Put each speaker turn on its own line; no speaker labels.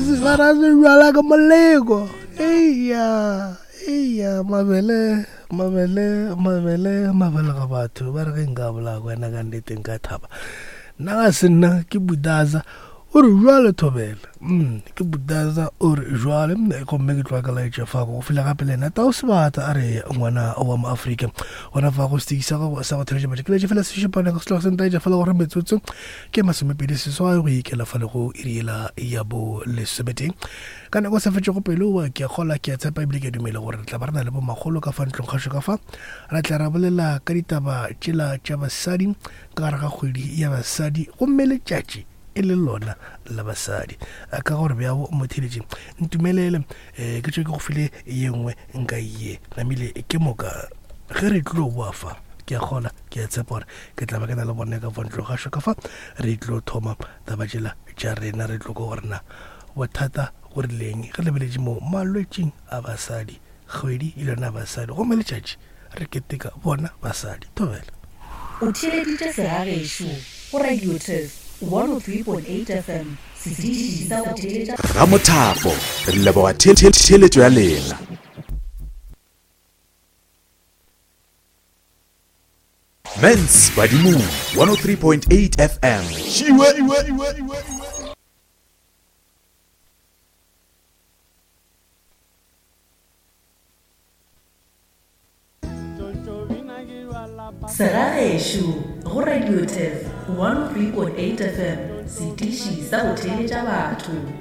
Ba re bjala ke moleko. Eya, eya, mabele, mabele, mabele, mabele ga batho. Ba re ge nka bolaya wena ka nnete nka thaba. Nna ga se nna ke Budaza. O re jwale thobela. Mm, ke Budaza o re jwale gomme ke tloga ka laetša fa go fila gape le ena Tau Sebata a re ngwana wa mo Afrika. Gona fa go setiki sa gago sa go theletša batho ke laetša fela sešupana ka setloga se ntaetša fela gore metsotso ke masomepedi seswai go ikela fa le go iri yela ya bo lesometee ka nako sa fetšego pelo wa ke a kgola ke a tshepa ebile ke a dumela gore re tla ba re na le bomakgolo ka fa ntlong kgašo ka fa ra tla ra bolela ka ditaba tšela tša basadi ka gare ga kgwedi ya basadi gomme letšatši e le lona la basadi ka gore bjabo motheletši ntumelele um ke tšwe ke go file ye nngwe nka ye namile ke moka ge re tlo boa fa ke a kgola ke a tshepa gore ke tla ba ke na le bone ka fa ntlo gašo ka fa re tlo thoma taba tšela tša rena re tlo ko gore na bothata go rileng re lebeletše mo malwetšing a basadi kgwedi e lona basadi gomme letšatši re keteka bona basadi thobela
O theeleditše Segagešo go Radio Turf 103.8 FM, setiši sa go theeletša.
Ramothapo, re leboga theeletšo ya lena. Mens Badimong 103.8 FM. Šiwe!
Segagešo go Radio Turf 103.8 FM, setiši sa go theeletša batho.